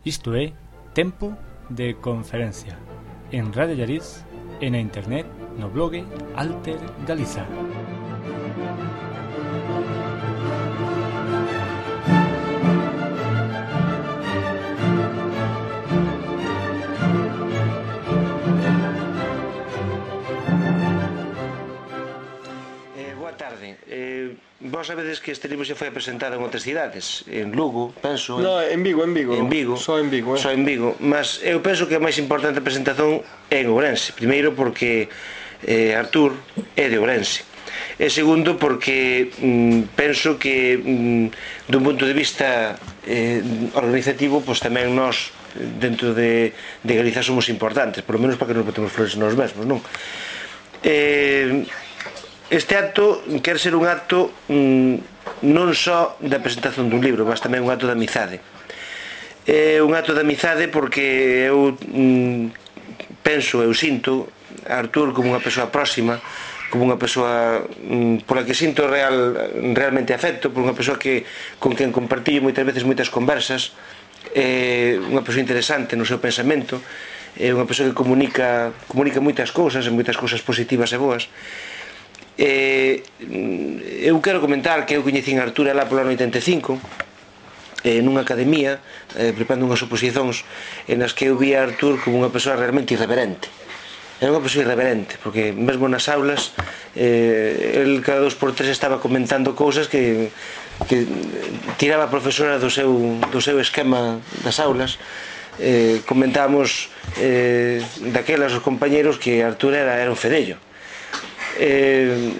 Isto é Tempo de Conferencia en Radio Llariz e na internet no blog Alter Galiza. Boa tarde. Vos sabedes que este libro xa foi presentado en outras cidades, en Lugo, penso. No, en Vigo. En Vigo. Só en Vigo, Só en Vigo, mas eu penso que a máis importante presentación é en Ourense. Primeiro porque Artur é de Ourense. E segundo porque penso que dun punto de vista organizativo, pois tamén nós dentro de Galiza somos importantes, por lo menos para que nos botemos flores nos mesmos, non? Este acto quer ser un acto non só da presentación dun libro, mas tamén un acto de amizade. É un acto de amizade porque eu penso, eu sinto a Artur como unha persoa próxima, como unha persoa pola que sinto realmente afecto, por unha persoa con quen compartillo moitas veces moitas conversas, unha persoa interesante no seu pensamento, é unha persoa que comunica moitas cousas positivas e boas. Eu quero comentar que eu coñecín a Artur lá polo ano 85 nunha academia preparando unhas oposicións en as que eu vi a Artur como unha persoa realmente irreverente. Era unha persoa irreverente porque mesmo nas aulas el cada 2x3 estaba comentando cousas que tiraba a profesora do seu esquema das aulas. Comentábamos daquelas os compañeros que Artur era un fedello.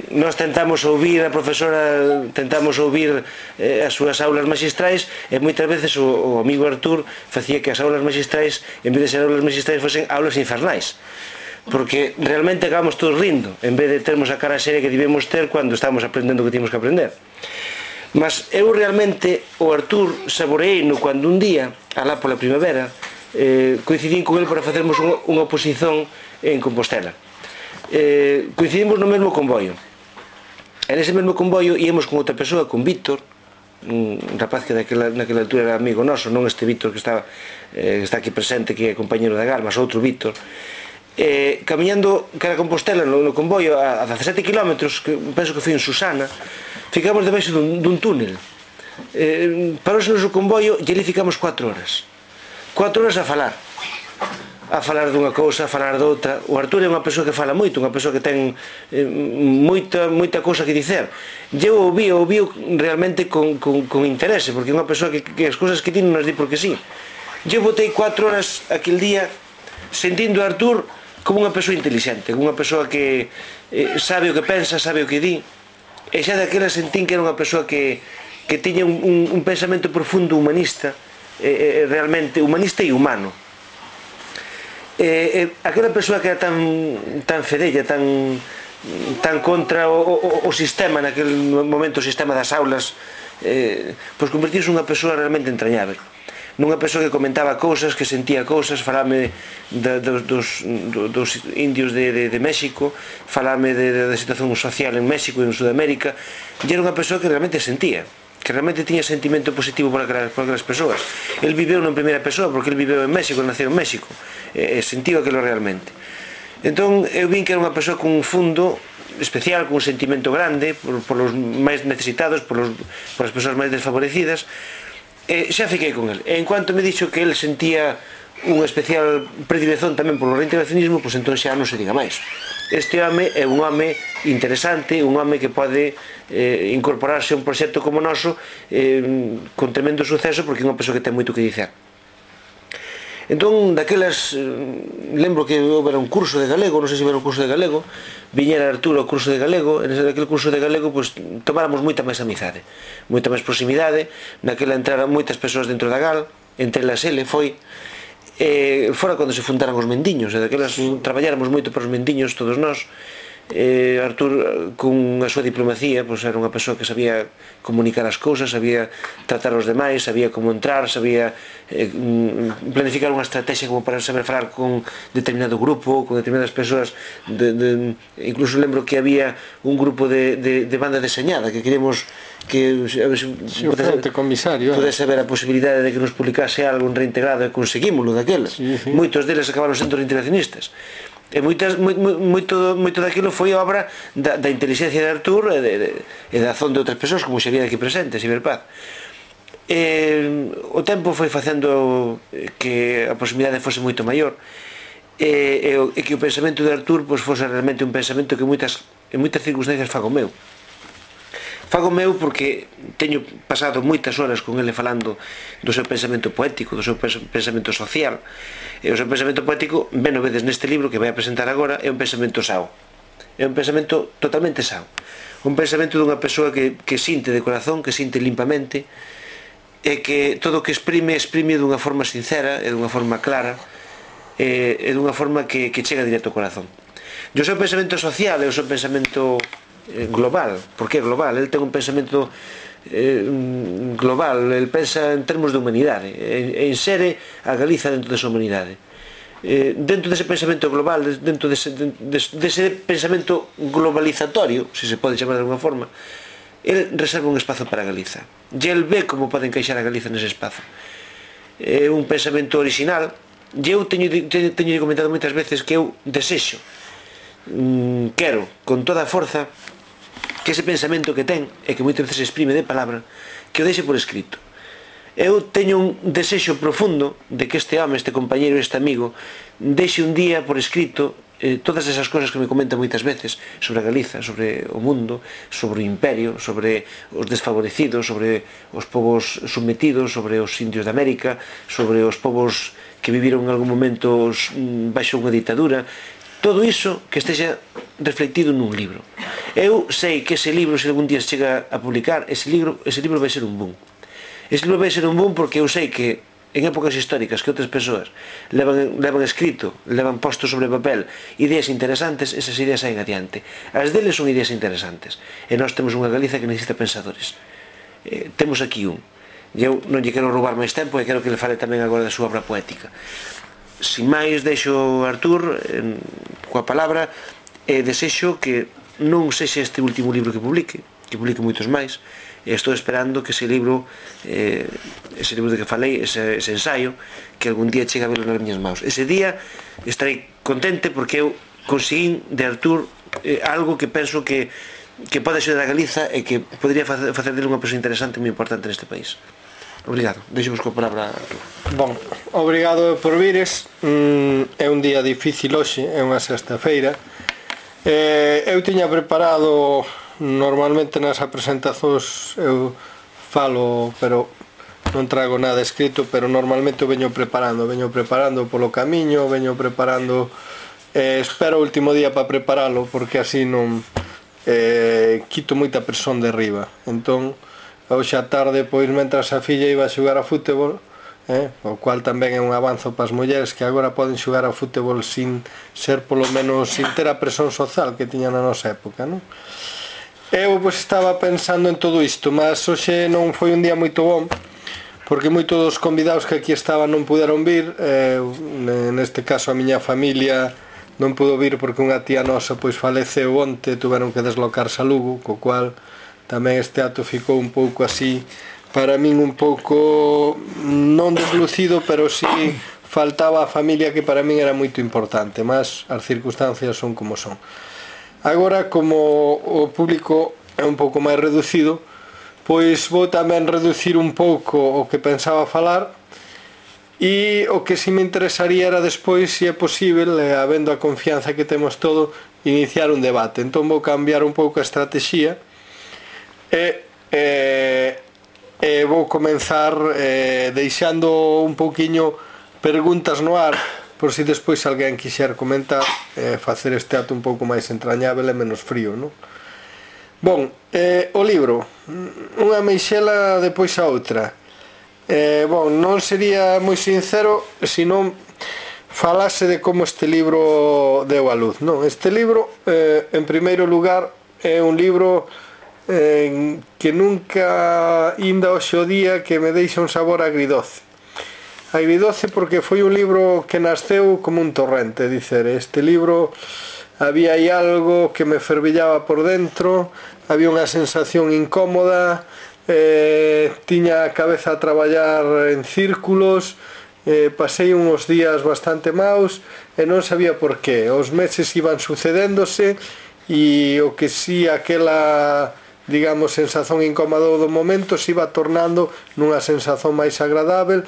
Nós tentamos ouvir a profesora, tentamos ouvir as súas aulas magistrais e moitas veces o amigo Artur facía que as aulas magistrais, en vez de ser aulas magistrais, fosen aulas infernais, porque realmente acabamos todos rindo en vez de termos a cara seria que debemos ter cando estamos aprendendo o que temos que aprender. Mas eu realmente o Artur saboreino cando un día, alá pola primavera, coincidín con el para facermos unha oposición en Compostela. Coincidimos no mesmo convoio. En ese mesmo convoio íamos con outra persoa, con Víctor, un rapaz que naquela altura era amigo noso, non este Víctor que está aquí presente, que é compañero da GAL, mas outro Víctor, camiñando cara a Compostela no convoio a 17 km, que penso que foi en Susana, ficamos debaixo dun túnel. Parouse o noso convoio e ali ficamos 4 horas a falar dunha cousa, a falar doutra. O Artur é unha persoa que fala moito, unha persoa que ten moita cousa que dicer. Eu ouvío realmente con interese, porque é unha persoa que as cousas que ti non as di porque sí. Eu botei 4 horas aquel día sentindo a Artur como unha persoa inteligente, como unha persoa que sabe o que pensa, sabe o que di, e xa daquela sentín que era unha persoa que tiña un pensamento profundo humanista, realmente humanista e humano. Aquela persoa que era tan fedella, tan contra o sistema naquele momento, o sistema das aulas, pois convertirse nunha persoa realmente entrañável, nunha persoa que comentaba cousas, que sentía cousas, falame dos indios de México, falame da situación social en México e en Sudamérica, e era unha persoa que realmente sentía, que realmente tiña sentimento positivo por aquelas persoas. El viveu en primeira persoa porque el viveu en México, naceu en México, e sentiu aquilo realmente. Entón eu vin que era unha persoa con un fundo especial, con un sentimento grande por os máis necesitados, por as persoas máis desfavorecidas, e xa fiquei con el. E en cuanto me dixo que el sentía unha especial predilección tamén polo reintegracionismo, pois entón xa non se diga máis. Este home é un home interesante, un home que pode incorporarse a un proxecto como o noso con tremendo suceso, porque é unha persoa que ten moito que dicer. Entón, daquelas, lembro que houbera un curso de galego, non sei se houbera un curso de galego, viñera Artur ao curso de galego, e naquele curso de galego tomáramos moita máis amizade, moita máis proximidade. Naquela entraran moitas persoas dentro da GAL, entre elas ele foi, fora cando se fundaran os mendiños, e daquelas traballáramos moito para os mendiños todos nós, Artur, con a súa diplomacía, era unha persoa que sabía comunicar as cousas, sabía tratar os demais, sabía como entrar, sabía planificar unha estrategia como para saber falar con determinado grupo, con determinadas persoas. Incluso lembro que había un grupo de banda deseñada que queremos que pudese haber a posibilidade de que nos publicase algo en Reintegrado, e conseguímoslo daqueles. Moitos deles acabaron sendo reintegracionistas. E moito daquilo foi obra da inteligencia de Artur e da azón de outras persoas, como Xavier aquí presente, Ciberpaz. O tempo foi facendo que a proximidade fose moito maior, e que o pensamento de Artur fose realmente un pensamento que en moitas circunstancias fago meu porque teño pasado moitas horas con ele falando do seu pensamento poético, do seu pensamento social. E o seu pensamento poético, ben o vedes neste libro que vai a presentar agora, é un pensamento sao, é un pensamento totalmente sao, un pensamento dunha persoa que sinte de corazón, que sinte limpamente, e que todo o que exprime dunha forma sincera e dunha forma clara, e dunha forma que chega directo ao corazón. E o seu pensamento social é o seu pensamento global. Por que global? El ten un pensamento global, el pensa en termos de humanidade e insere a Galiza dentro desa humanidade. Dentro dese pensamento global, dentro dese pensamento globalizatorio, se se pode chamar de alguna forma, el reserva un espazo para Galiza e el ve como pode encaixar a Galiza nese espazo. É un pensamento original, e eu teño comentado moitas veces que eu desexo, quero con toda a forza que ese pensamento que ten e que moitas veces se exprime de palabra, que o deixe por escrito. Eu teño un desexo profundo de que este home, este compañeiro, este amigo deixe un día por escrito todas esas cosas que me comenta moitas veces sobre a Galiza, sobre o mundo, sobre o imperio, sobre os desfavorecidos, sobre os povos sometidos, sobre os indios de América, sobre os povos que viviron en algún momento baixo unha ditadura. Todo iso que estexa reflectido nun libro. Eu sei que ese libro, se algún día chega a publicar, ese libro vai ser un boom. Ese libro vai ser un boom porque eu sei que en épocas históricas que outras persoas levan escrito, levan posto sobre papel ideas interesantes, esas ideas saen adiante. As deles son ideas interesantes. E nós temos unha Galiza que necesita pensadores. Temos aquí un. E eu non lle quero roubar máis tempo e quero que le fale tamén agora da súa obra poética. Sin máis, deixo Artur coa palabra e desexo que non sexa este último libro que publique moitos máis, e estou esperando que ese libro de que falei, ese ensaio, que algún día chegue a verlo nas miñas maus. Ese día estarei contente porque eu conseguín de Artur algo que penso que pode axudar a Galiza e que podría facer dele unha persoa interesante e moi importante neste país. Obrigado, deixo-vos coa palabra, Artur. Bon, obrigado por vires. É un día difícil hoxe, é unha sexta-feira. Eu tiña preparado, normalmente nas presentacións eu falo, pero non trago nada escrito, pero normalmente veño preparando polo camiño, veño preparando, espero o último día para preparalo, porque así non quito moita presión de riba. Entón, hoxe a tarde, pois, mentras a filla iba a xogar a fútbol, o cual tamén é un avanzo para as mulleres que agora poden xogar a fútbol sin ser, polo menos, sin ter a presión social que tiña na nosa época, non? Eu, pois, estaba pensando en todo isto, mas hoxe non foi un día moito bom, porque moitos dos convidados que aquí estaban non puderon vir. Neste caso a miña familia non pudo vir porque unha tía nosa, pois, faleceu onte, tuveron que deslocarse a Lugo, co cual tamén este acto ficou un pouco así, para min un pouco non deslucido, pero si faltaba a familia, que para min era moito importante, mas as circunstancias son como son. Agora, como o público é un pouco máis reducido, pois vou tamén reducir un pouco o que pensaba falar, e o que si me interesaría era despois, se é posible, habendo a confianza que temos todo, iniciar un debate. Entón vou cambiar un pouco a estrategia e vou comenzar deixando un pouquiño preguntas no ar, por si despois alguén quixer comentar, facer este acto un pouco máis entrañável e menos frío, non? Bon, o libro, unha meixela depois a outra. Bon, non sería moi sincero se non falase de como este libro deu a luz. Non, este libro, en primeiro lugar, é un libro que nunca inda hoxe o día que me deixa un sabor agridoce. Agridoce porque foi un libro que nasceu como un torrente, dicer, este libro había aí algo que me fervillaba por dentro, había unha sensación incómoda, tiña a cabeza a traballar en círculos, pasei uns días bastante maus e non sabía por qué. Os meses iban sucedéndose e o que si aquela, digamos, sensación incómoda do momento se iba tornando nunha sensación máis agradável,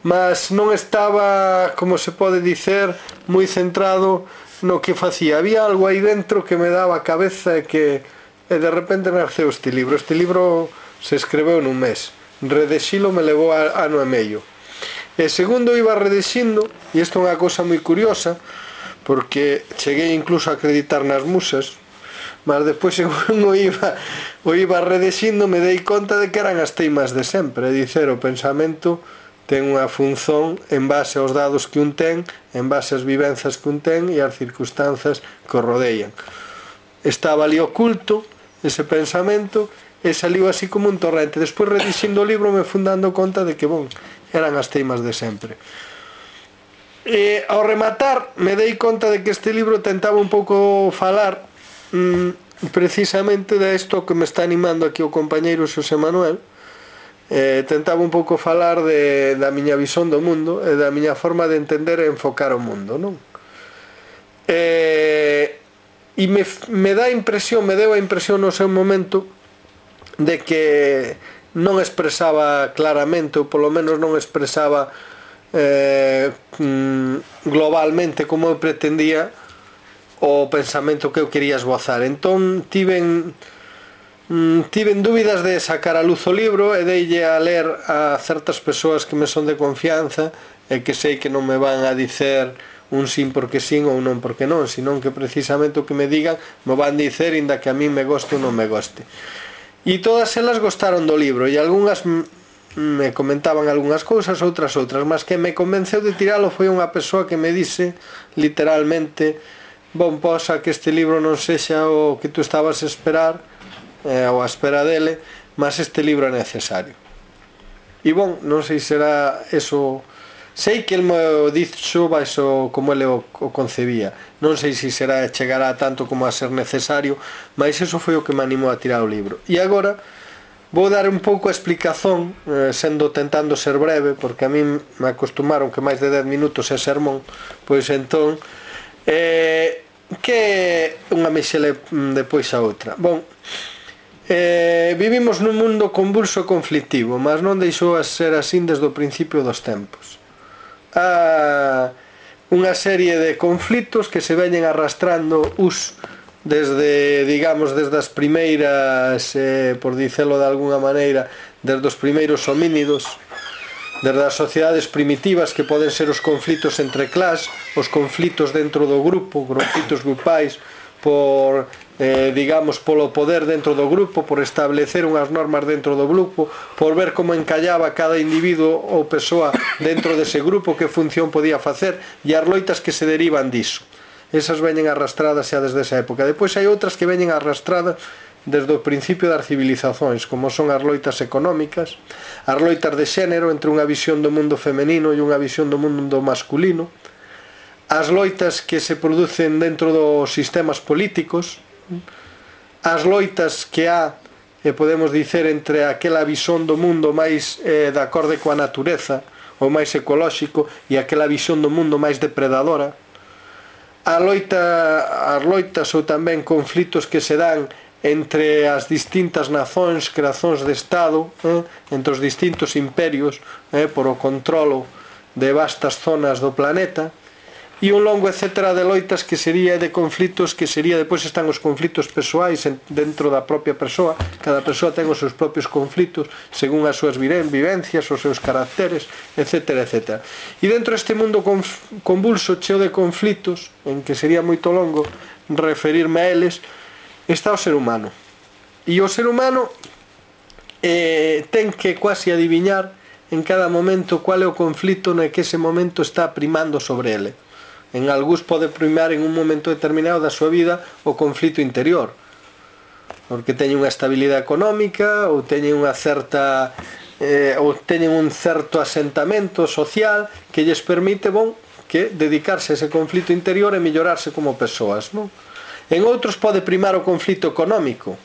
mas non estaba, como se pode dicer, moi centrado no que facía. Había algo aí dentro que me daba a cabeza e de repente naceu este libro. Este libro se escreveu nun mes, redexilo me levou ano e medio. E segundo iba redexindo, e isto é unha cousa moi curiosa, porque cheguei incluso a acreditar nas musas, mas depois según o iba redexindo me dei conta de que eran as teimas de sempre, é dicer, o pensamento ten unha función en base aos dados que un ten, en base ás vivenzas que un ten e ás circunstancias que o rodean. Estaba ali oculto ese pensamento e saliu así como un torrente. Despois redixindo o libro me fui dando conta de que, eran as teimas de sempre. E ao rematar me dei conta de que este libro tentaba un pouco falar precisamente de isto que me está animando aquí o compañeiro Xosé Manuel. Tentaba un pouco falar da miña visón do mundo e da miña forma de entender e enfocar o mundo, non? E me deu a impresión no seu momento de que non expresaba claramente, ou polo menos non expresaba globalmente como eu pretendía o pensamento que eu quería esbozar. Entón tiven dúbidas de sacar a luz o libro e deille a ler a certas persoas que me son de confianza e que sei que non me van a dicer un sin porque sin ou non porque non, senón que precisamente o que me digan me van dicer inda que a mí me goste ou non me goste. E todas elas gostaron do libro e algunhas me comentaban algunhas cousas, outras, mas que me convenceu de tiralo foi unha persoa que me dise literalmente: posa que este libro non sexa o que tú estabas a esperar ou a espera dele, mas este libro é necesario. E non sei se será eso. Sei que el me dixo baixo como ele o concebía, non sei se será chegará tanto como a ser necesario, mas eso foi o que me animou a tirar o libro. E agora vou dar un pouco a explicación, tentando ser breve, porque a mí me acostumaron que máis de 10 minutos é sermón, pois entón que unha mexele depois a outra. Vivimos nun mundo convulso e conflictivo, mas non deixou a ser así desde o principio dos tempos. Unha serie de conflitos que se veñen arrastrando desde as primeiras, por dicelo de alguna maneira, desde os primeiros homínidos, desde as sociedades primitivas, que poden ser os conflitos entre clas, os conflitos dentro do grupo, conflitos grupais polo poder dentro do grupo, por establecer unhas normas dentro do grupo, por ver como encallaba cada individuo ou persoa dentro dese grupo, que función podía facer, e as loitas que se derivan diso. Esas veñen arrastradas xa desde esa época. Depois hai outras que veñen arrastradas desde o principio das civilizacións, como son as loitas económicas, as loitas de xénero entre unha visión do mundo femenino e unha visión do mundo masculino, as loitas que se producen dentro dos sistemas políticos, as loitas que podemos dicer, entre aquela visón do mundo máis de acorde coa natureza, ou máis ecolóxico, e aquela visión do mundo máis depredadora, as loitas ou tamén conflitos que se dan entre as distintas nazóns, creacións de Estado, entre os distintos imperios, por o controlo de vastas zonas do planeta, e un longo etcétera de loitas que sería de conflitos, que sería, depois están os conflitos persoais dentro da propia persoa. Cada persoa ten os seus propios conflitos según as súas vivencias, os seus caracteres, etcétera, etcétera. E dentro deste mundo convulso, cheo de conflitos, en que sería moito longo referirme a eles, está o ser humano. E o ser humano ten que quasi adiviñar en cada momento qual é o conflito no que ese momento está primando sobre ele. En algúns pode primar en un momento determinado da súa vida o conflito interior, porque teñen unha estabilidade económica ou teñen unha certa ou teñen un certo asentamento social que lles permite que dedicarse a ese conflito interior e mellorarse como persoas, non? En outros pode primar o conflito económico.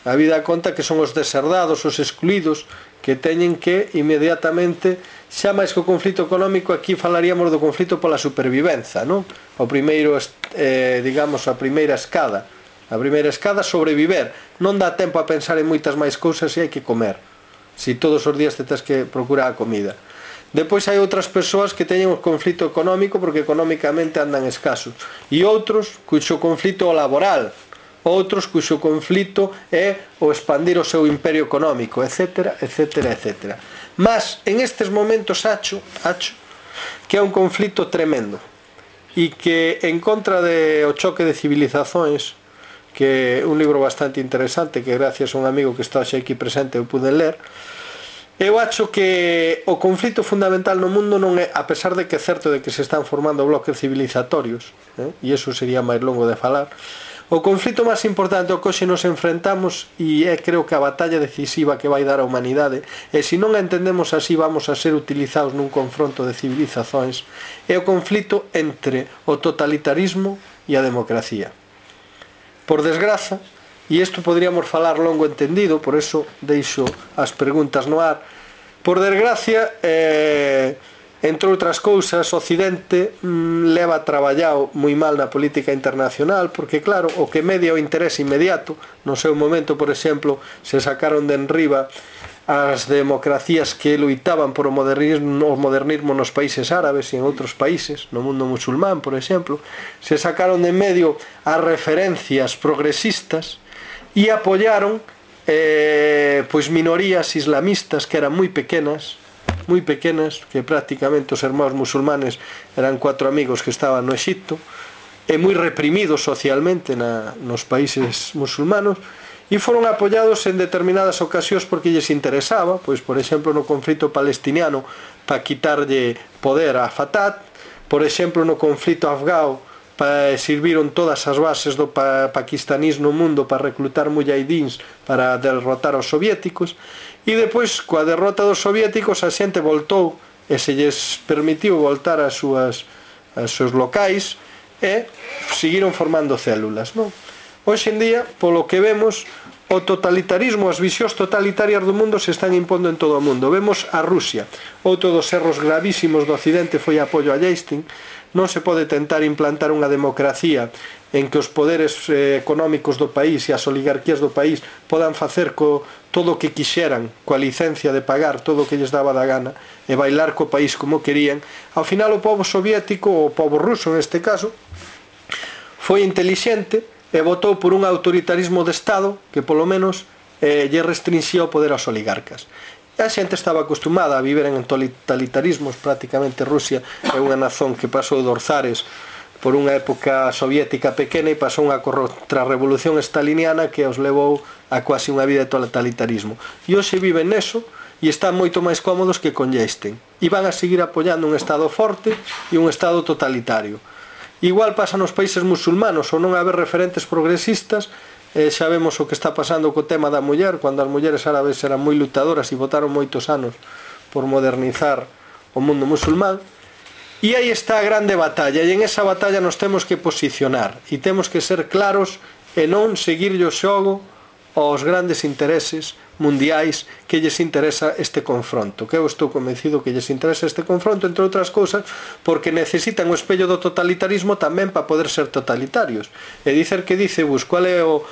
A vida conta que son os deserdados, os excluídos, que teñen que inmediatamente, xa máis que o conflito económico, aquí falaríamos do conflito pola supervivenza, non? O primeiro, digamos, a primeira escada. A primeira escada, sobreviver. Non dá tempo a pensar en moitas máis cousas e hai que comer. Si todos os días te tens que procurar a comida. Depois hai outras persoas que teñen o conflito económico porque económicamente andan escasos, e outros cuxo conflito laboral, outros cuxo conflito é o expandir o seu imperio económico, etc, etc, etc. Mas en estes momentos acho que é un conflito tremendo e que en contra de o choque de civilizações, que é un libro bastante interesante que gracias a un amigo que está aquí presente eu pude ler, eu acho que o conflito fundamental no mundo non é, a pesar de que é certo de que se están formando bloques civilizatorios, e iso sería máis longo de falar, o conflito máis importante ao que hoxe nos enfrentamos, e é creo que a batalla decisiva que vai dar a humanidade, e se non a entendemos así vamos a ser utilizados nun confronto de civilizacións, é o conflito entre o totalitarismo e a democracia. Por desgraza, e isto podríamos falar longo entendido, por eso deixo as preguntas no ar. Por desgracia, entre outras cousas, o Occidente leva traballado moi mal na política internacional, porque claro, o que media o interés inmediato, no seu momento, por exemplo, se sacaron de enriba as democracias que loitaban por o modernismo nos países árabes e en outros países, no mundo musulmán, por exemplo, se sacaron de medio as referencias progresistas e apoyaron pois minorías islamistas que eran moi pequenas, que prácticamente os hermanos musulmanes eran 4 amigos que estaban no Egipto, e moi reprimidos socialmente nos países musulmanos, e foron apoyados en determinadas ocasións porque lles interesaba, pois por exemplo no conflito palestiniano para quitarlle poder a Fatah, por exemplo no conflito afgao serviron todas as bases do paquistanís no mundo para reclutar mujahidins para derrotar aos soviéticos, e depois coa derrota dos soviéticos a xente voltou e se lles permitiu voltar aos seus locais e seguiron formando células, non? Hoxe en día, polo que vemos, o totalitarismo, as visións totalitarias do mundo se están impondo en todo o mundo. Vemos a Rusia. Outro dos erros gravísimos do Occidente foi o apoio a Yeltsin. Non se pode tentar implantar unha democracia en que os poderes económicos do país e as oligarquías do país podan facer todo o que quixeran, coa licencia de pagar todo o que lles daba da gana e bailar co país como querían. Ao final o povo soviético, o povo ruso neste caso, foi intelixente e votou por un autoritarismo de Estado que polo menos lle restringía o poder aos oligarcas. E a xente estaba acostumada a viver en totalitarismos. Prácticamente Rusia é unha nazón que pasou dos zares por unha época soviética pequena e pasou unha contrarrevolución staliniana que os levou a quasi unha vida de totalitarismo. E hoxe viven neso e están moito máis cómodos que con Yeltsin. E van a seguir apoiando un Estado forte e un Estado totalitario. Igual pasa nos países musulmanos, ou non haber referentes progresistas. Xa vemos o que está pasando co tema da muller, cando as mulleres árabes eran moi lutadoras e votaron moitos anos por modernizar o mundo musulmán. E aí está a grande batalla, e en esa batalla nos temos que posicionar e temos que ser claros e non seguirlle o xogo aos grandes intereses mundiais que lles interesa este confronto, que eu estou convencido que lles interesa este confronto, entre outras cousas porque necesitan o espello do totalitarismo tamén para poder ser totalitarios. E dicer que dice Bush, qual é o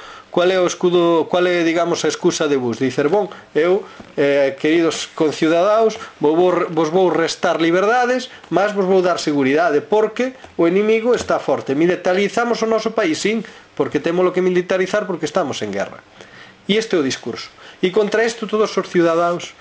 escudo, qual é, digamos, a excusa de Bush? Dicer, eu, queridos conciudadaos, vos vou restar liberdades, mas vos vou dar seguridade, porque o inimigo está forte. Militarizamos o noso país, sim, porque temos que militarizar porque estamos en guerra. E este é o discurso. E contra isto todos os ciudadanos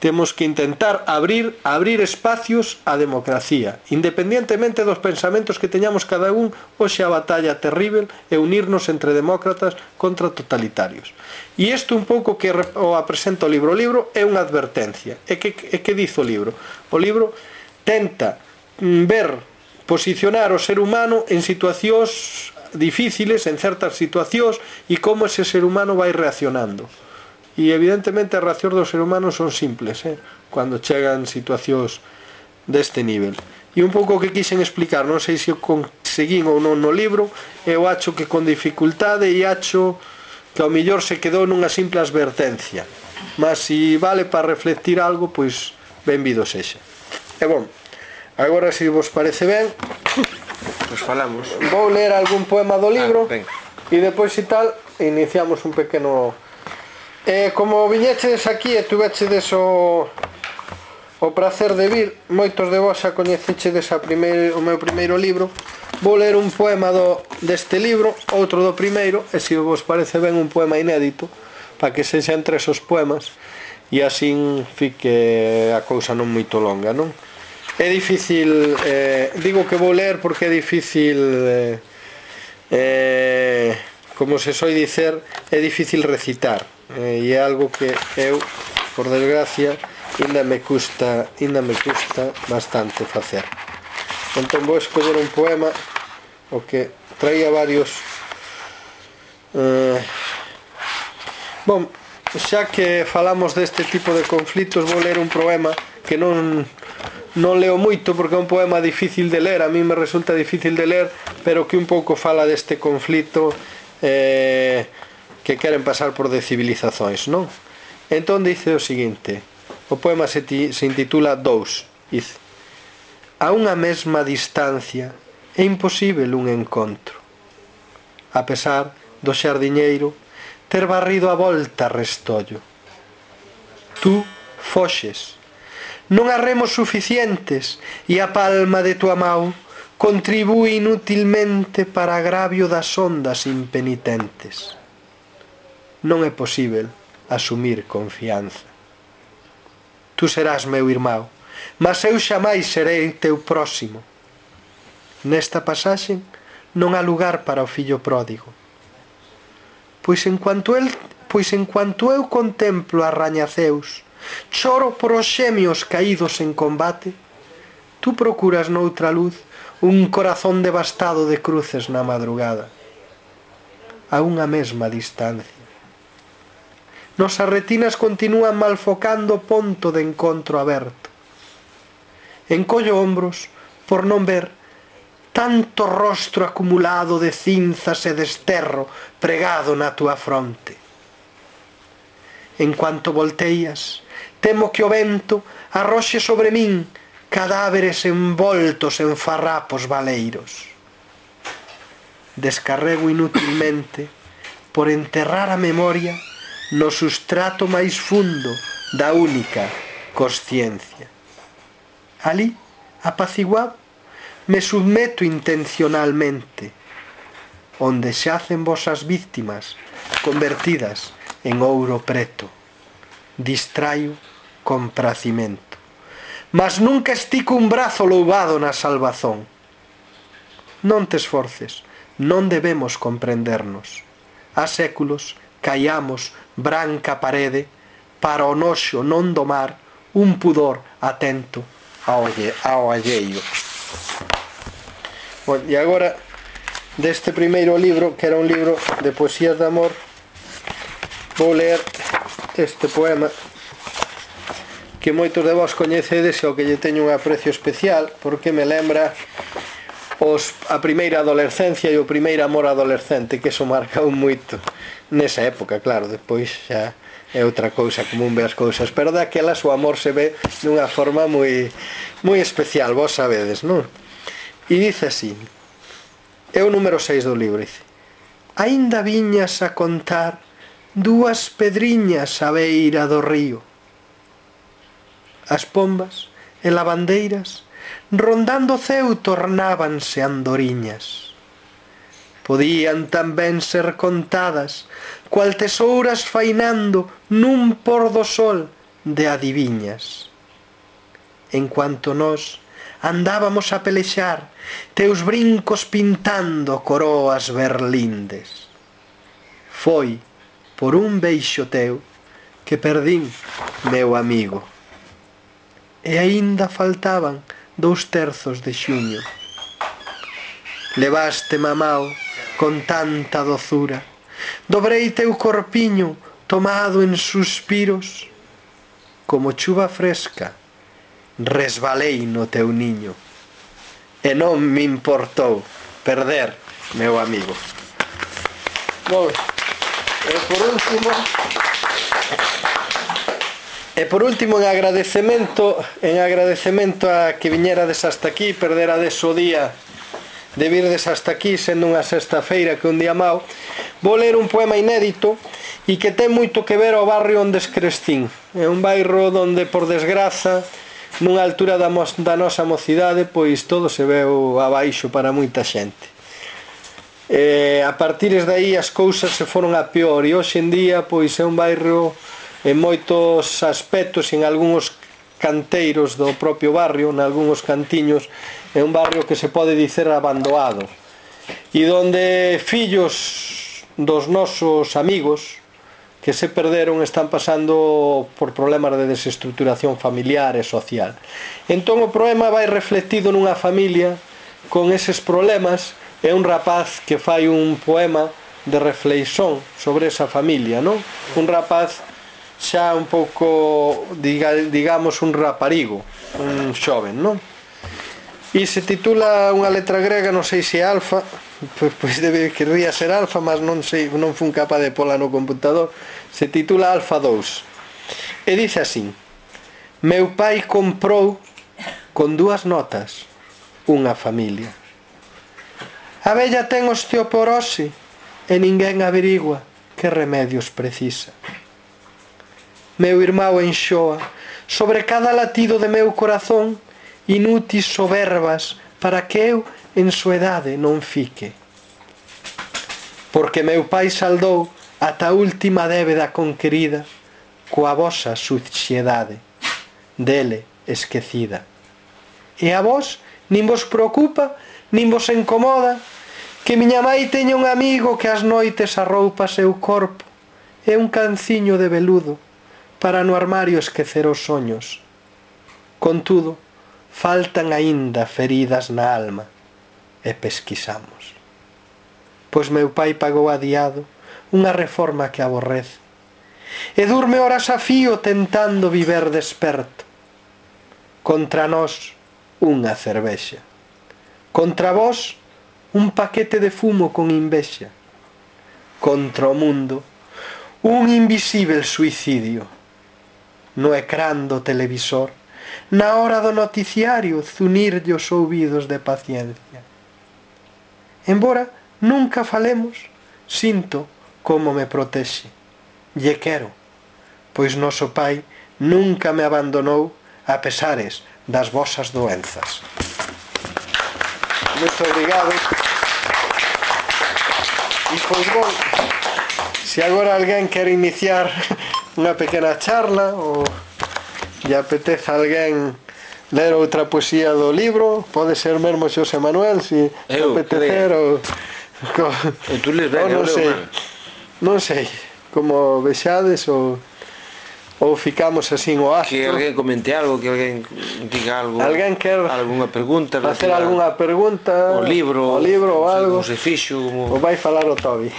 temos que intentar abrir espacios á democracia, independientemente dos pensamentos que teñamos cada un. Hoxe a batalla terrível é unirnos entre demócratas contra totalitarios. E isto un pouco que o apresenta o libro. O libro é unha advertencia. E que diz o libro? O libro tenta posicionar o ser humano en situacións difíciles, en certas situacións, e como ese ser humano vai reaccionando. E evidentemente as reaccións do ser humano son simples, cando chegan situacións deste nivel. E un pouco o que quixen explicar, non sei se o conseguín ou non no libro, eu acho que con dificultade, e acho que ao mellor se quedou nunha simple advertencia, mas se vale para reflectir algo, pois benvido sexa. E bon, agora se vos parece ben, Nos falamos. vou ler algún poema do libro e depois e tal iniciamos un pequeno... como viñechedes aquí e tuvechedes o prazer de vir, moitos de vos xa coñecechedes o meu primeiro libro. Vou ler un poema deste libro, outro do primeiro, e se vos parece ben un poema inédito, para que sexan 3 os poemas e así fique a cousa non moito longa, non? É difícil, digo que vou ler porque é difícil, como se soi dicer, é difícil recitar. E é algo que eu, por desgracia, ainda me custa bastante facer. Entón vou escoller un poema o que traía varios. Bom, xa que falamos deste tipo de conflitos, vou ler un poema que non leo moito porque é un poema difícil de ler, a mí me resulta difícil de ler, pero que un pouco fala deste conflito que queren pasar por civilizacións, non? Entón dice o seguinte, o poema se intitula Dous. Dice: a unha mesma distancia é imposible un encontro, a pesar do xardiñeiro ter barrido a volta restollo. Tú foxes, non has remos suficientes, e a palma de tua mau contribúe inutilmente para agravio das ondas impenitentes. Non é posível asumir confianza. Tú serás meu irmão, mas eu xamais serei teu próximo. Nesta pasaxe non há lugar para o fillo pródigo. Pois en cuanto eu contemplo a rañaceus, choro por os xemios caídos en combate, tú procuras noutra luz un corazón devastado de cruces na madrugada. A unha mesma distancia. Nosas retinas continúan malfocando o ponto de encontro aberto. Encollo ombros por non ver tanto rostro acumulado de cinzas e desterro pregado na túa fronte. En cuanto volteas, temo que o vento arroxe sobre min cadáveres envoltos en farrapos baleiros. Descarrego inutilmente por enterrar a memoria no sustrato máis fundo da única consciencia. Ali, apaciguado, me submeto intencionalmente, onde xacen vosas víctimas convertidas en ouro preto. Distraio con pracimento, mas nunca estico un brazo louvado na salvazón. Non te esforces, non debemos comprendernos. Há séculos caiamos branca parede para o noxo non domar un pudor atento ao alleio. Bueno, e agora deste primeiro libro, que era un libro de poesías de amor, vou ler este poema que moitos de vos coñecedes e ao que lle teño un aprecio especial porque me lembra a primeira adolescencia e o primeiro amor adolescente, que eso marcou moito nesa época. Claro, depois xa é outra cousa, como un ve as cousas, pero daquelas o amor se ve dunha forma moi especial, vos sabedes, non? E dice así, é o número 6 do libro, dice: aínda viñas a contar dúas pedriñas á beira do río. As pombas e lavandeiras rondando o ceu tornábanse andoriñas. Podían tamén ser contadas cual tesouras fainando nun por do sol de adiviñas. En cuanto nós andábamos a pelexar, teus brincos pintando coroas berlindes. Foi por un beixo teu que perdín, meu amigo. E aínda faltaban 2/3 de xuño. Levaste mamao con tanta dozura, dobrei teu corpiño tomado en suspiros, como chuva fresca resbalei no teu niño, e non me importou perder, meu amigo. Moi ben. E por último, en agradecemento a que viñerades hasta aquí, perderades o día de virdes hasta aquí, sendo unha sexta-feira que un día mau, vou ler un poema inédito e que ten moito que ver ao barrio onde escrestín. É un bairro onde, por desgraza, nunha altura da nosa mocidade, pois todo se veu abaixo para moita xente. A partir de aí as cousas se foron a peor, e hoxe en día pois é un bairro en moitos aspectos, en algúns canteiros do propio barrio, en algúns cantiños, é un barrio que se pode dicer abandonado, e onde fillos dos nosos amigos que se perderon están pasando por problemas de desestructuración familiar e social. Entón o poema vai reflectido nunha familia con eses problemas. É un rapaz que fai un poema de reflexón sobre esa familia, non? Un rapaz xa un pouco, digamos, un raparigo, un xoven, non? E se titula unha letra grega, non sei se é alfa, pois querría ser alfa, mas non sei, non fun capaz de pola no computador. Se titula Alfa 2 e dice así: meu pai comprou con 2 notas unha familia. A vella ten osteoporose e ninguén averigua que remedios precisa. Meu irmão enxoa sobre cada latido de meu corazón inútis soberbas para que eu en soedade non fique. Porque meu pai saldou ata a última débeda conquerida coa vosa suciedade, dele esquecida. E a vos nin vos preocupa, nin vos incomoda que miña mai teña un amigo que ás noites arroupa seu corpo e un canciño de veludo para no armario esquecer os soños. Contudo, faltan aínda feridas na alma e pesquisamos. Pois meu pai pagou adiado unha reforma que aborrece e durme horas a fío tentando viver desperto. Contra nós unha cervexa, contra vós un paquete de fumo con invexa, contra o mundo un invisível suicidio. No ecrán do televisor, na hora do noticiario, zunirlle os ouvidos de paciencia. Embora nunca falemos, sinto como me protexe. Lle quero, pois noso pai nunca me abandonou a pesares das vosas doenzas. Moito obrigado. E pois bon, se agora alguén quer iniciar unha pequena charla ou lle apetece a alguén ler outra poesía do libro, pode ser mesmo Xosé Manuel, se apetecer ou tú les ben, non sei, non sei como vexades ou ficamos así o astro. Que alguén comente algo, que alguén diga algo, alguén quer algunha pregunta, facer algunha pregunta o libro ou algo, se fixo ou vai falar o Tobi.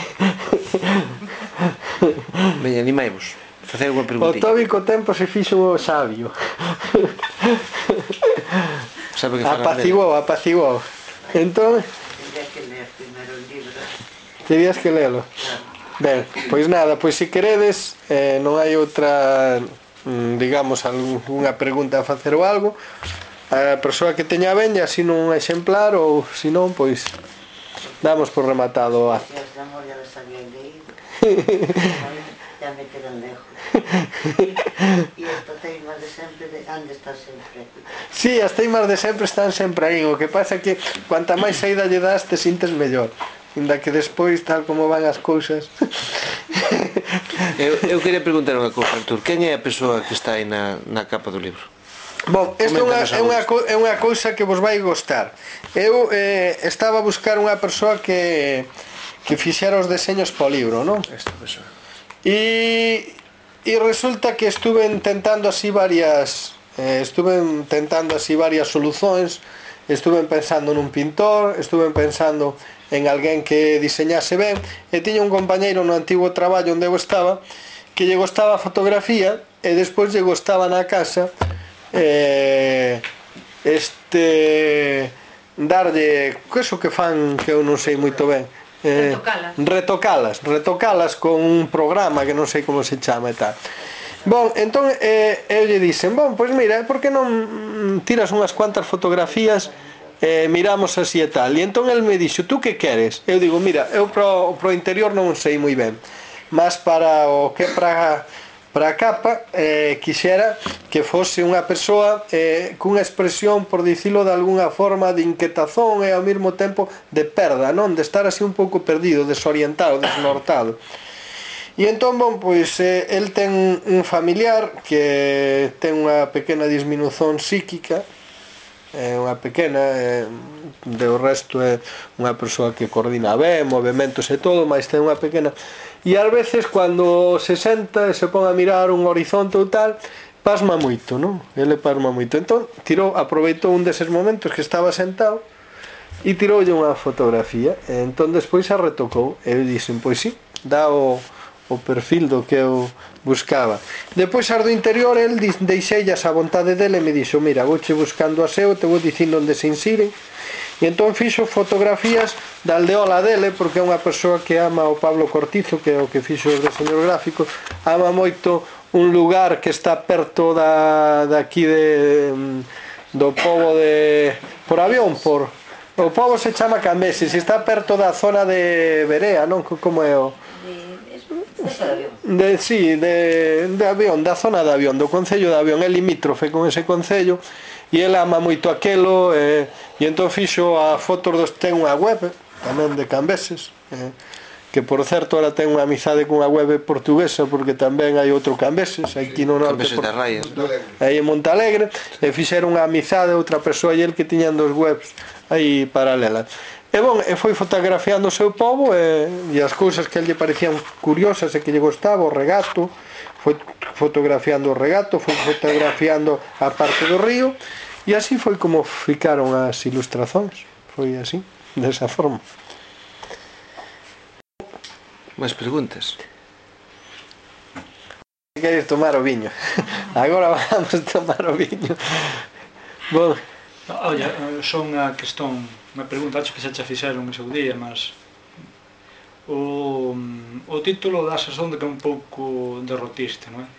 Veña, animaimos facer unha O preguntilla. Tobi co tempo se fixo o sabio. Sabe que apaciguou. Entón Tendría que ler primeiro o libro. terías que lelo. Ben, pois nada, pois se queredes, non hai outra, digamos, algunha pregunta a facer ou algo, a persoa que teña ben, así nun exemplar, ou se non, pois damos por rematado o acto. Si as de amor ya las había leído. Ya me quedan lejos. E estas teimas de sempre de onde está sempre. Sí, as teimas de sempre están sempre aí. O que pasa é que cuanta máis saída lle das, te sintes mellor. Inda que despois, tal como van as cousas, Eu queria preguntar unha cousa, Artur. Quen é a persoa que está aí na capa do libro? Bom, esta é unha cousa que vos vai gostar. Eu estaba a buscar unha persoa que fixera os deseños para o libro, non? Esta persoa. E resulta que estuve intentando así varias solucións. Estuve pensando nun pintor, estuve pensando en alguén que diseñase ben, e tiña un compañeiro no antigo traballo onde eu estaba que lle gostaba a fotografía e despois lle gostaba na casa darlle eso que fan que eu non sei moito ben, retocalas con un programa que non sei como se chama e tal. Bon, entón eu lle dixen, bon, pois mira, por que non tiras unhas cuantas fotografías e miramos así e tal. E entón el me dixo, tú que queres? Eu digo, mira, eu pro interior non sei moi ben, mas para o que para a capa quixera que fose unha persoa cunha expresión, por dicilo de algunha forma, de inquietazón e ao mesmo tempo de perda, non? De estar así un pouco perdido, desorientado, desnortado. E entón, bon, pois el ten un familiar que ten unha pequena disminución psíquica, unha pequena, do resto é unha persoa que coordina ben, movimentos e todo, mas ten unha pequena. E ás veces, cando se senta e se pon a mirar un horizonte ou tal, pasma moito, non? Ele pasma moito. Entón, aproveitou un deses momentos que estaba sentado e tiroulle unha fotografía. E entón, despois a retocou. E eu dixen, pois sí, dá o perfil do que eu buscaba. Depois as do interior, el deixeillas a vontade dele e me dixo, mira, vouche buscando a seu, te vou dicindo onde se insiren. E entón fixo fotografías da aldeola dele, porque é unha persoa que ama o Pablo Cortizo, que é o que fixo os deseños gráficos, ama moito un lugar que está perto daqui do pobo de por avión, o pobo se chama Cambeses, e está perto da zona de Berea, non? Como é o de avión, da zona de avión, do concello de Avión, é limítrofe con ese concello, e ele ama moito aquelo, e entón fixo a fotos ten unha web tamén de Cambeses, que por certo ela ten unha amizade cunha web portuguesa, porque tamén hai outro Cambeses aquí no norte, Cambeses de Raias, aí en Montalegre, e fixeron unha amizade outra persoa e el que tiñan dos webs aí paralelas. E bon, foi fotografiando o seu pobo e as cousas que a lle parecían curiosas e que lle gostaba, o regato, foi fotografiando o regato, foi fotografiando a parte do río, e así foi como ficaron as ilustracións, foi así, desa forma. Máis preguntas? Queres tomar o viño? Agora vamos tomar o viño. Bon, Olla, só unha cuestión, unha pregunta, acho que xa che fixeron o seu día, mas o título dá a sensación de que é un pouco derrotista, non é?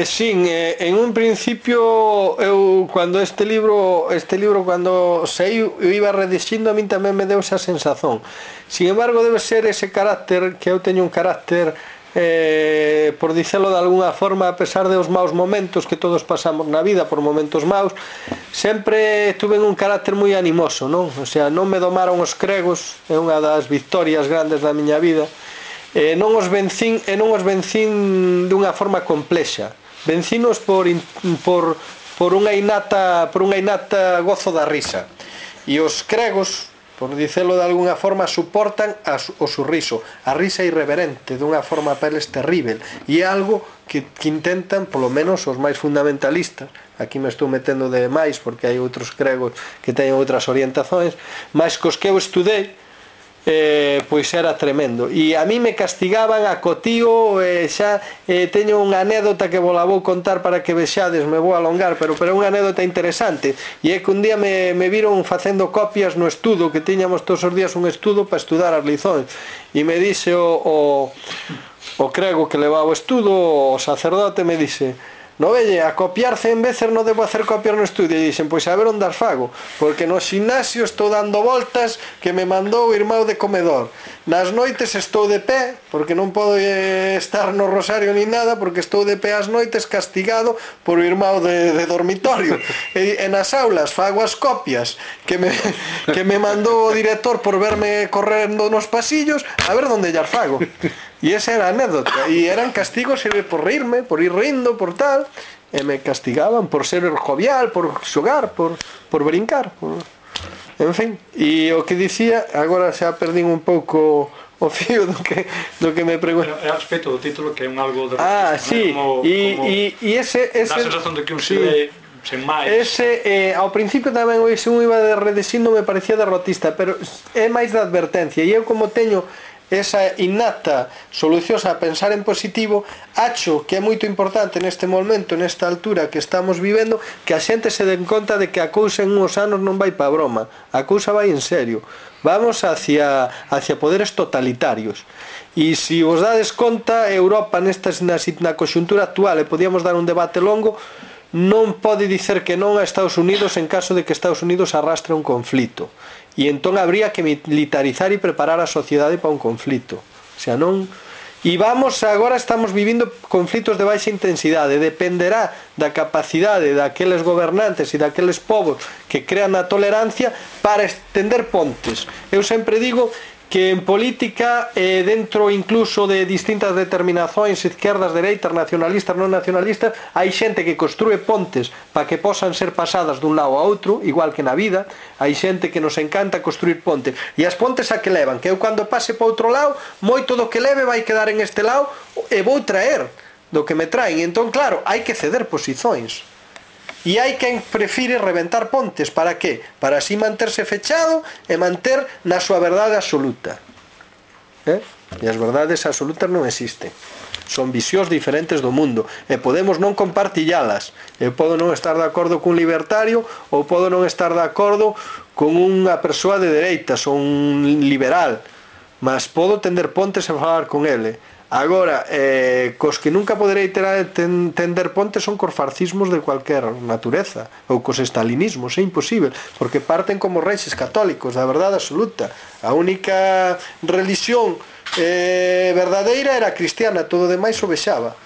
Sin, en un principio eu cando este libro cando saiu eu iba redixindo, a min tamén me deu esa sensación. Sin embargo, debe ser ese carácter, que eu teño un carácter por dicelo de alguna forma, a pesar de os maus momentos que todos pasamos na vida, por momentos maus, sempre tuve un carácter moi animoso, non? O sea, non me domaron os cregos, é unha das victorias grandes da miña vida. Non os vencín dunha forma complexa. Vencinos por unha innata gozo da risa. E os cregos, por dicelo de alguna forma, suportan o sorriso, a risa irreverente, dunha forma peles terrible, e é algo que intentan, polo menos os máis fundamentalistas, aquí me estou metendo de máis porque hai outros cregos que teñen outras orientacións, máis cos que eu estudei, pois era tremendo, e a mí me castigaban a cotío. Xa teño unha anécdota que vos la vou contar para que vexades, me vou alongar, pero é unha anécdota interesante, e é que un día me viron facendo copias no estudo, que tiñamos todos os días un estudo para estudar as liçóns, e me dixe o crego que levaba o estudo, o sacerdote, me dixe, no velle, a copiar 100 veces non debo hacer copiar no estudio. E dixen, pois a ver onde as fago, porque no ximnasio estou dando voltas que me mandou o irmão de comedor, nas noites estou de pé, porque non podo estar no rosario ni nada, porque estou de pé as noites castigado por o irmão de dormitorio, e nas aulas fago as copias que me mandou o director por verme correndo nos pasillos, a ver onde as fago. E esa era a anécdota, e eran castigos por rirme, por ir rindo, por tal, e me castigaban por ser jovial, por xogar, por brincar, en fin. E o que dicía, agora xa perdín un pouco o fío do que me pregunto. É a respecto do título, que é un algo de Sí, e ese dá a sensación de que un se ve sen máis. Ese, ao principio tamén se un iba de redesindo me parecía derrotista, pero é máis de advertencia, e eu como teño esa innata solución a pensar en positivo, acho que é moito importante neste momento, nesta altura que estamos vivendo, que a xente se den conta de que a cousa en uns anos non vai pa broma, a cousa vai en serio, vamos hacia poderes totalitarios. E se vos dades conta, Europa na conxuntura actual, e podíamos dar un debate longo, non pode dicer que non a Estados Unidos en caso de que Estados Unidos arrastre un conflito, e entón habría que militarizar e preparar a sociedade para un conflito. O sea, non... E agora estamos vivindo conflitos de baixa intensidade, dependerá da capacidade daqueles gobernantes e daqueles povos que crean a tolerancia para estender pontes. Eu sempre digo que en política, dentro incluso de distintas determinacións, izquierdas, dereitas, nacionalistas, non nacionalistas, hai xente que construe pontes para que posan ser pasadas dun lado a outro, igual que na vida. Hai xente que nos encanta construir pontes, e as pontes a que levan, que eu cando pase para outro lado, moito do que leve vai quedar en este lado e vou traer do que me traen. E entón, claro, hai que ceder posicións. E hai quen prefire reventar pontes, para que? Para así manterse fechado e manter na súa verdade absoluta. E as verdades absolutas non existen. Son visións diferentes do mundo, e podemos non compartillalas. Eu podo non estar de acordo cun libertario, ou podo non estar de acordo con unha persoa de dereitas ou un liberal, mas podo tender pontes e falar con ele. Agora, cos que nunca poderei tender pontes son cos fascismos de cualquier natureza, ou cos estalinismos, é imposible, porque parten como reixes católicos da verdade absoluta. A única religión verdadeira era cristiana, todo demais o vexaba.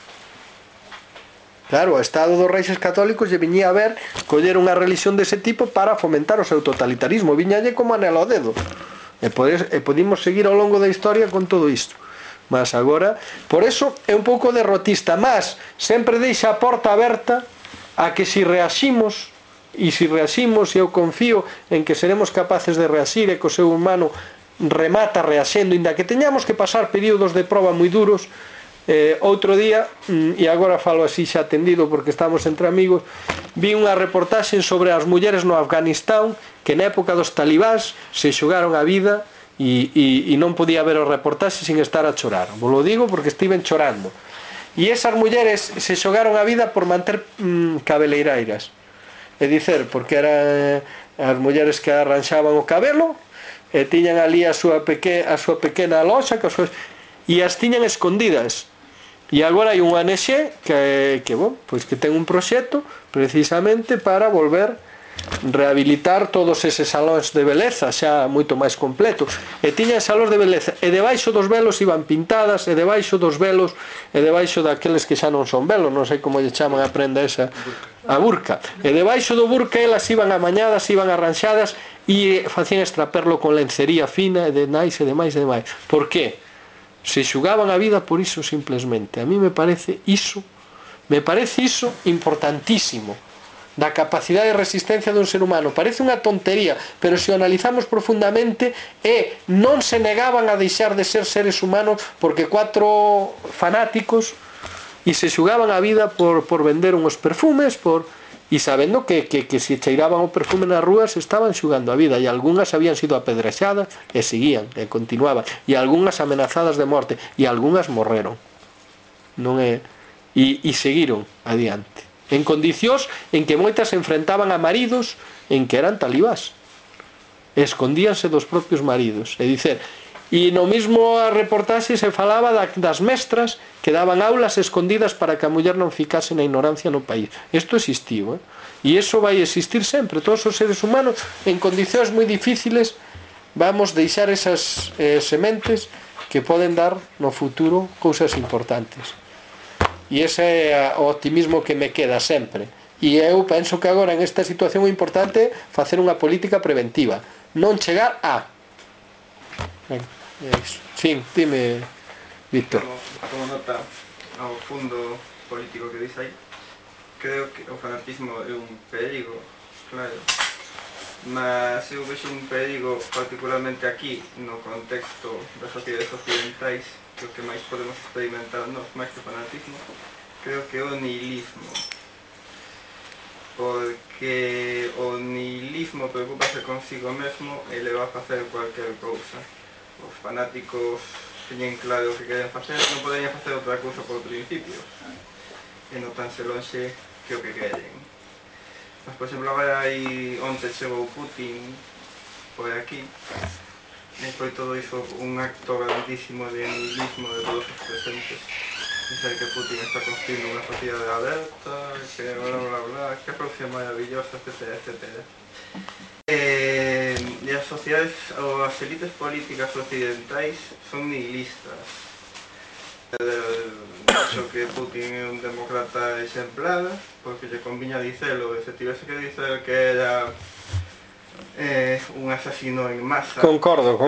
Claro, o Estado dos Reixes Católicos lle viñía a ver coller unha religión dese tipo para fomentar o seu totalitarismo, viñalle como anelo ao dedo. E podimos seguir ao longo da historia con todo isto. Mas agora, por eso é un pouco derrotista, mas sempre deixa a porta aberta a que se reaximos, e se reaximos, e eu confío en que seremos capaces de reaxir, e que o ser humano remata reaxendo, inda que teñamos que pasar períodos de proba moi duros. Outro día, e agora falo así xa atendido porque estamos entre amigos, vi unha reportaxe sobre as mulleres no Afganistán que na época dos talibás se xogaron a vida e non podía ver o reportaxe sin estar a chorar. Vos lo digo porque estiven chorando. E esas mulleres se xogaron a vida por manter cabeleireiras. É dicer, porque eran as mulleres que arranxaban o cabelo e tiñan ali a súa pequena loxa e as tiñan escondidas. E agora hai un ONG que ten un proxecto precisamente para volver rehabilitar todos eses salóns de beleza xa moito máis completos, e tiñan salóns de beleza, e debaixo dos velos iban pintadas, e debaixo dos velos, e debaixo daqueles que xa non son velos, non sei como lle chaman a prenda esa, a burka, e debaixo do burka elas iban amañadas, iban arranxadas, e facían extraperlo con lencería fina, e demais, e demais, e demais. Por que? Se xugaban a vida por iso simplesmente. A mí me parece iso importantísimo, da capacidade de resistencia dun ser humano. Parece unha tontería, pero se o analizamos profundamente, non se negaban a deixar de ser seres humanos porque 4 fanáticos e se xugaban a vida por vender uns perfumes, e sabendo que se cheiraban o perfume nas rúas estaban xugando a vida, e algunhas habían sido apedrexadas e seguían, e continuaban, e algunhas amenazadas de morte, e algunhas morreron, e seguiron adiante en condicións en que moitas se enfrentaban a maridos en que eran talibás, escondíanse dos propios maridos. É dicer, e no mesmo reportaxe se falaba das mestras que daban aulas escondidas para que a muller non ficase na ignorancia no país. Isto existiu, e iso vai existir sempre. Todos os seres humanos en condicións moi difíciles vamos deixar esas sementes que poden dar no futuro cousas importantes. E ese é o optimismo que me queda sempre. E eu penso que agora en esta situación é importante facer unha política preventiva, non chegar a... Sí, dime. Víctor. Como nota ao fundo político que dice aí, creo que o fanatismo é un perigo, claro, mas eu vexo un perigo particularmente aquí no contexto das sociedades occidentais, que o que máis podemos experimentar nos máis que fanatismo, creo que é o nihilismo, porque o nihilismo preocupase consigo mesmo e le va a facer cualquier cousa. Os fanáticos teñen claro o que queren facer, non poderían facer outra cousa por principios e non tanse lonxe que o que queren. Mas, por exemplo, agora aí onte chegou Putin por aquí e foi todo iso un acto grandísimo de nihilismo de todos os presentes. Dizer que Putin está construindo unha sociedade aberta, que bla bla bla, que Rusia é maravillosa, etc, etc. E as sociedades ou as élites políticas occidentais son nihilistas. Acho que Putin é un demócrata exemplar, porque lle conviña dicelo, e se tivese que dicer que era un asasino en masa. Concordo.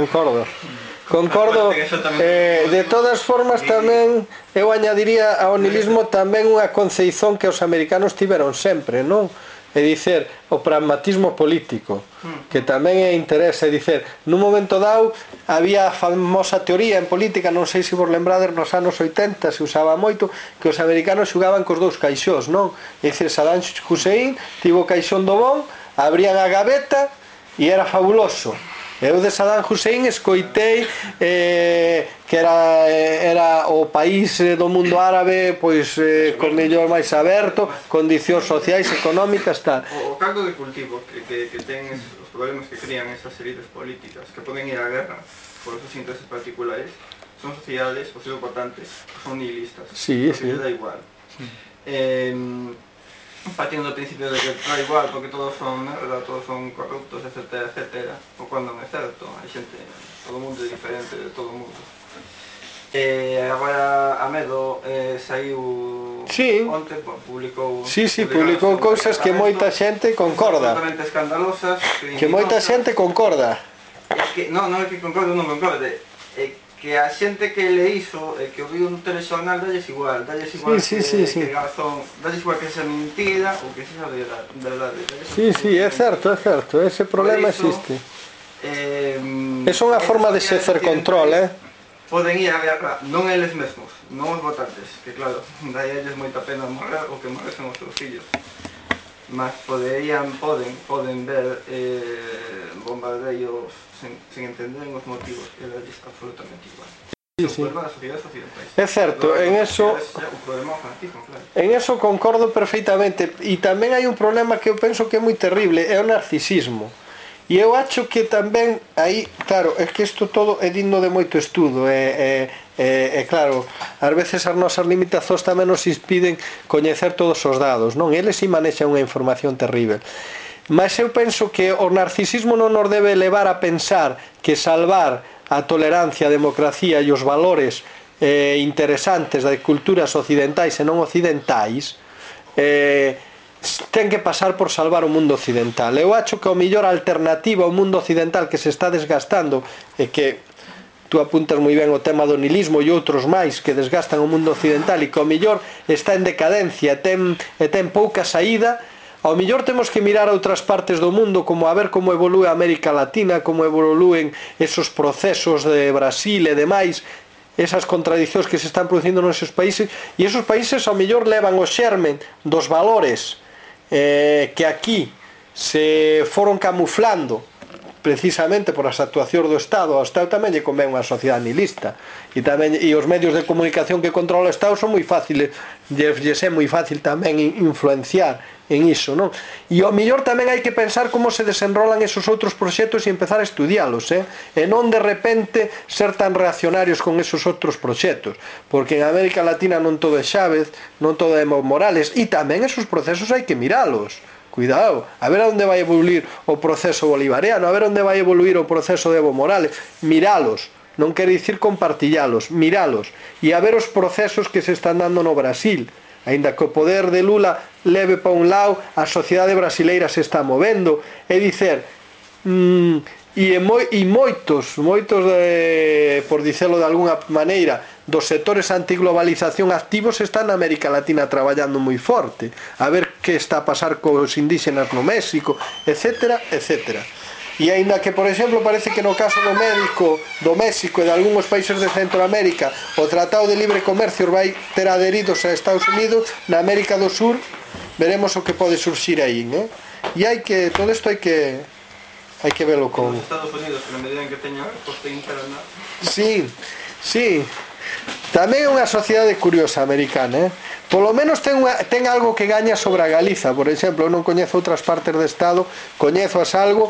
De todas formas tamén eu añadiría ao nihilismo tamén unha conceizón que os americanos tiveron sempre, non? É dicer, o pragmatismo político, que tamén é interese, é dicer, nun momento dado había a famosa teoría en política, non sei se vos lembrades, nos anos 80 se usaba moito, que os americanos xugaban cos dous caixós, non? É dicir, Saddam Hussein tivo o caixón do bon, abrían a gaveta e era fabuloso. Eu de Saddam Hussein escoitei que era o país do mundo árabe pois con mellor máis aberto, condicións sociais, económicas, tal. O caldo de cultivo que ten os problemas que crían esas élites políticas, que poden ir á guerra por esos intereses particulares, son sociedades, o seu votantes, que son nihilistas, sí. Que da igual. Partindo do principio de que da igual porque todos son merda, todos son corruptos, etc, etc, o cando non é certo, hai xente, todo o mundo é diferente de todo o mundo. Agora Amedo saiu onte, publicou cousas que moita xente concorda, absolutamente escandalosas, que moita xente concorda. Non é que concorde ou non concorde, que a xente que le iso e que o viu no telexornal dalles igual que razón, dalles igual que sea mentira ou que sea verdade. Sí, é certo, ese problema existe. É unha forma de se hacer control, Poden ir a guerra, non eles mesmos, non os votantes, que claro, dai a eles moita pena morrer ou que morresen os seus fillos. Mas poden ver bombardeios sen entender os motivos, que era absolutamente igual. É certo, en eso concordo perfeitamente. E tamén hai un problema que eu penso que é moi terrible, é o narcisismo. E eu acho que tamén aí, claro, é que isto todo é digno de moito estudo, claro, ás veces as nosas limitacións tamén nos impiden coñecer todos os dados, non? Eles si manexan unha información terrible. Mas eu penso que o narcisismo non nos debe levar a pensar que salvar a tolerancia, a democracia e os valores interesantes das culturas occidentais e non occidentais ten que pasar por salvar o mundo occidental. Eu acho que a mellor alternativa ao mundo occidental que se está desgastando e que tú apuntas moi ben o tema do nihilismo e outros máis que desgastan o mundo occidental e que ao mellor está en decadencia e ten pouca saída, ao mellor temos que mirar a outras partes do mundo como a ver como evolúe a América Latina, como evolúen esos procesos de Brasil e demais, esas contradicións que se están producindo nesos países, e esos países ao mellor levan o xermen dos valores que aquí se foron camuflando precisamente por as actuacións do Estado. Ao Estado tamén lle convén unha sociedade nihilista e os medios de comunicación que controla o Estado son moi fáciles, lles é moi fácil tamén influenciar en iso, non? E ao mellor tamén hai que pensar como se desenrolan esos outros proxectos e empezar a estudialos, e non de repente ser tan reaccionarios con esos outros proxectos, porque en América Latina non todo é Chávez, non todo é Evo Morales, e tamén esos procesos hai que miralos. Cuidado, a ver onde vai evoluir o proceso bolivariano, a ver onde vai evoluir o proceso de Evo Morales, miralos, non quere dicir compartillalos, miralos, e a ver os procesos que se están dando no Brasil, aínda que o poder de Lula leve para un lado, a sociedade brasileira se está movendo, é dicer, e moitos, por dicelo de alguna maneira, dos sectores antiglobalización activos está na América Latina traballando moi forte, a ver que está a pasar cos indígenas no México, etcétera, etcétera. E aínda que, por exemplo, parece que no caso do México e de algúns países de Centroamérica o Tratado de Libre Comercio vai ter adheridos a Estados Unidos, na América do Sur veremos o que pode surxir aí, e todo isto hai que velo con... Os Estados Unidos, que na medida en que teñan coste interna... Sí, tamén é unha sociedade curiosa americana, polo menos ten algo que gaña sobre a Galiza. Por exemplo, eu non coñezo outras partes do Estado, coñezo as algo,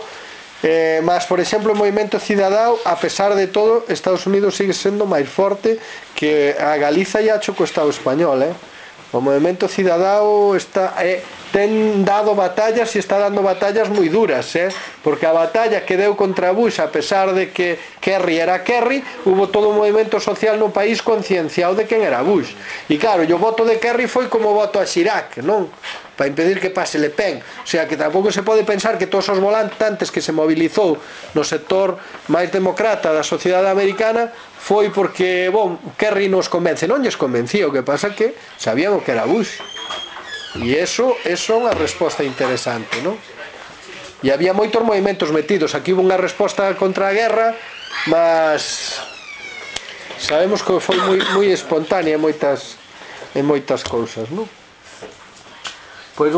mas, por exemplo, o movimento cidadão, a pesar de todo, Estados Unidos sigue sendo máis forte que a Galiza e acho co Estado español. O movimento cidadão ten dado batallas e está dando batallas moi duras, porque a batalla que deu contra Bush, a pesar de que Kerry era Kerry, hubo todo un movimento social no país concienciado de quen era Bush. E claro, o voto de Kerry foi como o voto a Chirac, non? Para impedir que pase Le Pen. O sea, que tampouco se pode pensar que todos os volantes que se mobilizou no sector máis demócrata da sociedade americana foi porque, Kerry nos convence. Non lles convencía, o que pasa que sabían o que era Bush. E eso é unha resposta interesante, non? E había moitos movimentos metidos. Aquí hubo unha resposta contra a guerra, mas sabemos que foi moi espontánea en moitas cousas, non? Pois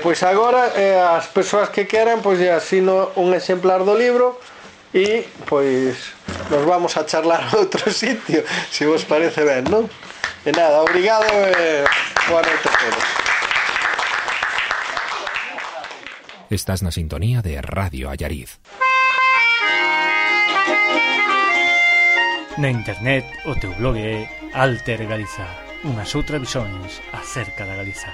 pois agora as persoas que queran, pois asino un exemplar do libro e pois nos vamos a charlar a outro sitio, se vos parece ben, non? E nada, obrigado e boa noite a todos. Estás na sintonía de Radio Allariz. Na internet o teu blog é Alter Galiza, unhas outras visións acerca da Galiza.